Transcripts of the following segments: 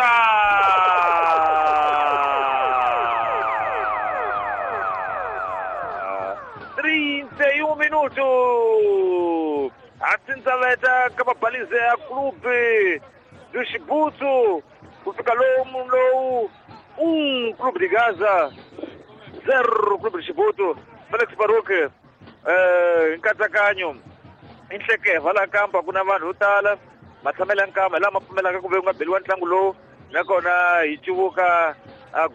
Gaza! 31 minutos! A tsindzaveta ka mabalize ya Clube do Chibuto ku fika lomu lowu 1 Clube de Gaza 0 Clube de Chibuto. Felix Baruch, nkatsakanyo i nhlekeva laha kampa ku na vanhu vo tala matshamelo ya nkama hi lama pfumelaka ku ve ku nga beliwa ntlangu lowu, nakona hi civuka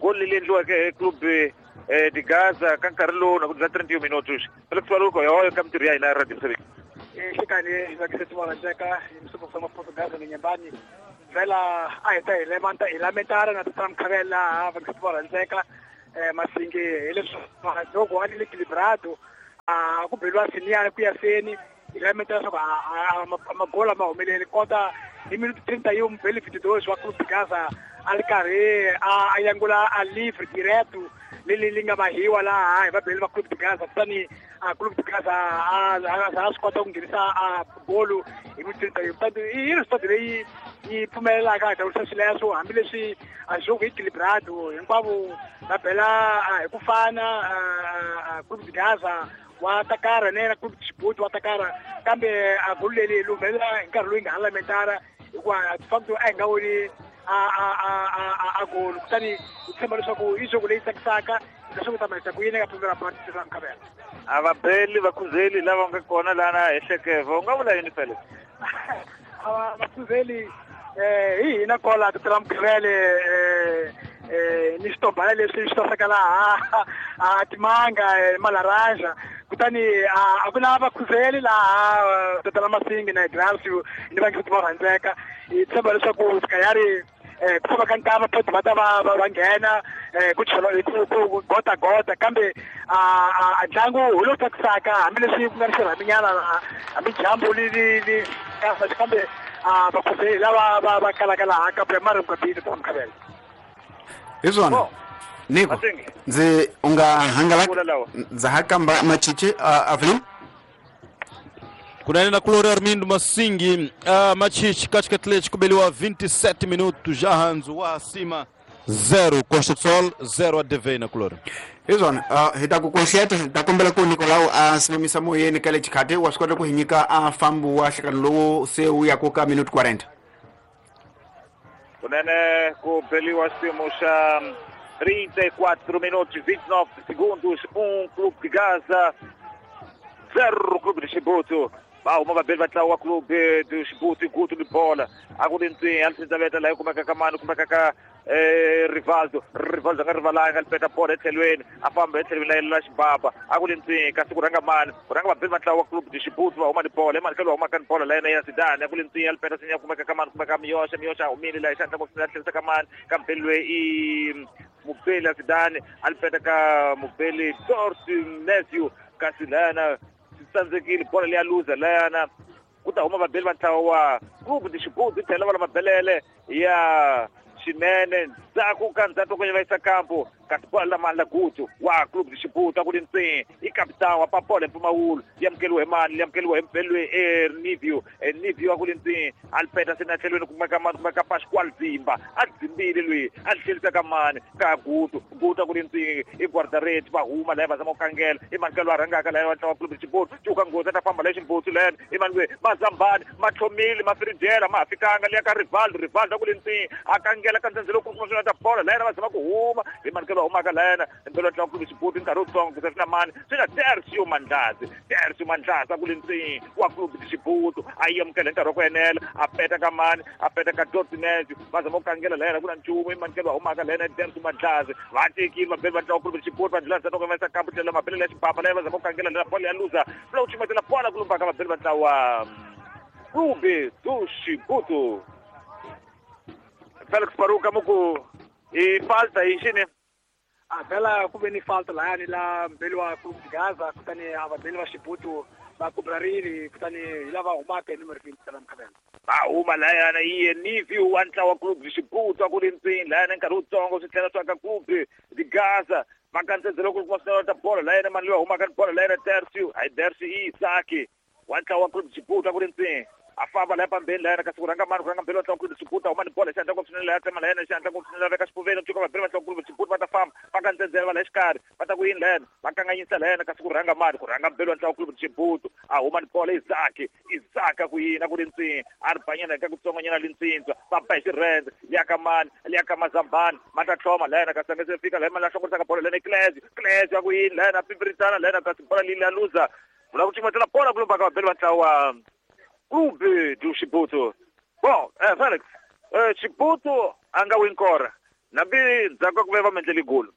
goli leri endliweke hi Clube de Gaza ka nkarhi lowu na ku dlula 31 minutos. Felix Baruch, yoyo ka mintirho ya hina ya Radio Mosambiki. Xikani vakiseti va rhandzeka hi misuku swa Portugal ni nyembani vela a hi ta hi lemanta hi lamentara na tata Mkhavela laha vakiseti va rhandzeka Masingi hi leswi loko a ni le equilibrado a ku beliwa siniyana ku ya seni hi lamentara leswaku magola ma humeleli kota hi minuto 31 mubeli 22 wa Clube de Gaza a ri karhi a yangula a livre direto leli li nga mahiwa laha hi vabeli va Clube de Gaza, kutani a Clube de Gaza a swi kota ku nghenisa a golu hi minuto 31. Kutani i resultat leyi yi pfumelelaka hi tawurisa swileswo, hambileswi a jogo equilibrado hinkwavo va bela hi ku fana. Clube de Gaza wa takara na yena Clube de Chibuto wa takara, kambe a golu leri li humelela hi nkarhi loyi nga ha lamentara hikuva de facto a hi nga voni a golu. Kutani hi tshemba leswaku i jogo leyi tsakisaka leswaku ta mahisa ku yini eka primera parte ra Mkhavela. A va beli vakhuzeli lava nga kona lana hi hlekeva, u nga vula yini, Felix? A vakhuzeli hi hina kola tatela Mkhavele ni xitombana leswi swi saseka laha a timanga malaranja, kutani a ku na vakhuzeli laha tatela Masingi na Ignatio ni vangiseti va rhandzeka. Hi tshemba leswaku sikayari ku famba ka nkama photi va ta va nghena ku chela ku gota gota, kambe a ntlangu hi lowu tsakisaka hambileswi ku nga ni xirhaminyana hambi dyambu li li li kambe vakhuzeli lava va kalaka laha ka primary Mkwapini ta Mkhavela. Hi swona Niko, ndzi u nga hangalaka ndza ha kamba machichi Avelino. Kunene na Kulori Armindo Masingi, Machichi katika Atlético kubeliwa 27 minutos já hanzu wa acima 0 Costa do Sol 0 ADV na Kulori. Hi swona, hi ta ku konxeta hi ta kombela ku Nicolau a simamisa moyeni ka le xikhati wa swi kota ku hi nyika a fambo wa nhlekano lowu se wu ya ku ka minuto 40. Kunene ku beliwa xiyimo xa 34 minutos 29 segundos, 1 Clube de Gaza 0 Clube de Chibuto. Va huma vabeli va ntlawa wa Clube de Chibuto gutu ni bola a ku ri ntswi a tsindzaveta laha yi kumeka ka mani, kumeka ka Rivaldo. Rivaldo a nga rivalanga, li peta bola etlhelweni, a famba etlhelweni la la xibaba a ku ri ntswi, kasi ku rhanga mani, ku rhanga vabeli va ntlawa wa Clube de Chibuto va huma ni bola emani ka lowu humaka ni bola la yena ya Zidane a ku ri ntswi, a li peta sinya kumeka ka mani, kumeka Miyosha. Miyosha a humile laha xandla ngopfu a tlherisa ka mani, ka mubeli loyi i mubeli ya Zidane a li peta ka mubeli Dorsi Matthew, kasi layana swi tsandzekile bola leya luza layana ku ta huma vabeli va ntlawa wa Clube de Chibuto tlhela va la mabelele ya xinene ndzhaku ka ndzhaku ku va yisa kampo, kasi bola la mani la gutu wa Clube de Chibuto a ku ri ntswi i capitão wa papola mpfumawulo yi amukeliwe hi mani, yi amukeliwe hi mubeli loyi Nivio. Nivio a ku ri ntswi a li peta seni etlhelweni kumeka mani, kumeka Pascual Dzimba a dzimbile loyi a li tlhelisa ka mani, ka Gutu. Gutu a ku ri ntswi i guardareti va huma laya va zama ku kangela i mani ka loyi a rhangaka laya wa ntlawa wa Clube de Chibuto cuka nghozi a ta famba laya ximbutsu layani i mani loyi mazambani ma tlhomile ma firijela ma ha fikanga liya ka Rivaldo. Rivaldo a ku ri ntswi a kangela ka ndzhendzelo ku kuma swona ta bola layana va zama ku huma hi mani ka loyi humaka layana mpelo ntlawa Clube de Chibuto nkarhi wutsongo ku swi na mani swi na Tercio Mandlazi. Tercio Mandlazi a ku ri ntswi wa Clube de Chibuto a yi amukela hi nkarhi wa ku enela a peta ka mani, a peta ka Dortinez va zama ku kangela layana ku na nchumu i mani ka loyi humaka layana Tercio Mandlazi va tekile vabeli va ntlawa Clube de Chibuto va ndlula ndzhaku va yisa kampo tlhela mabelele ya xibaba laya va zama ku kangela layana bola ya luza lowu chumetela bola ku lumbaka vabeli va ntlawa Clube do Chibuto. Felix Baruka muku i falta i xini? A vhela ku ve ni falta layani la mbeli wa Clube de Gaza, kutani a vabeli va Chibuto va kubrarile, kutani hi lava humaka hi numero 20 la Mkhavela. Va huma layana iye Nivio wa ntlawa Clube de Chibuto a ku ri ntswini layana nkarhi wutsongo swi tlhela swa ka Clube de Gaza va kandzedzela ku kuma swinene ta bola layana mani loyi humaka ni bola layana Tercio, hayi Tercio i Isaki wa ntlawa wa Clube de Chibuto a ku ri ntswini. A famba laha pambeni lahayana, kasi ku rhanga mani, ku rhanga mbeli wa ntlangu club Chibuto, huma ni bola xiandla ngopfu swinene laha, tsema lahayana xiandla ngopfu swinene, veka xipfuveni cuka vabeli va ntlangu club Chibuto va ta famba va ka ndzenzela va la exikarhi, va ta ku yini lahayana, va kanganyisa lahayana, kasi ku rhanga mani, ku rhanga mbeli wa ntlangu club Chibuto, a huma ni bola Isaac, Isaac a ku yini, a ku ri ntsini, a ri banyana ka kutsongonyana lintsintsa, va ba hi xirhendze, liya ka mani, liya ka Mazambani, ma ta tlhoma lahayana, kasi a nga se fika lahaya, ma la hlongorisaka bola lahayana, Clesio, Clesio a ku yini lahayana, a pimpirisana lahayana, kasi bola leyi ya luza, vula ku cimatela bola ku lombaka vabeli va ntlawa Clube do Chibuto. Bon, Felix, Chibuto a nga winkora nambi ndzhaku ka ku ve va mendleli golo.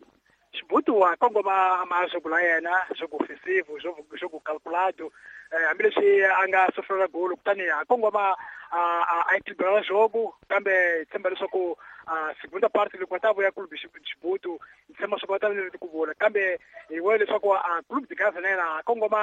Chibuto wa kongoma masoko la yena jogo ofensivo, jogo calculado, hambileswi a nga sofrela golo, kutani a kongoma a equilibrar jogo, kambe hi tshemba leswaku segunda parte loko va ta vuya Clube Chibuto, hi tshemba leswaku va ta va ku vula, kambe hi vona leswaku Clube de Gaza na yena a kongoma.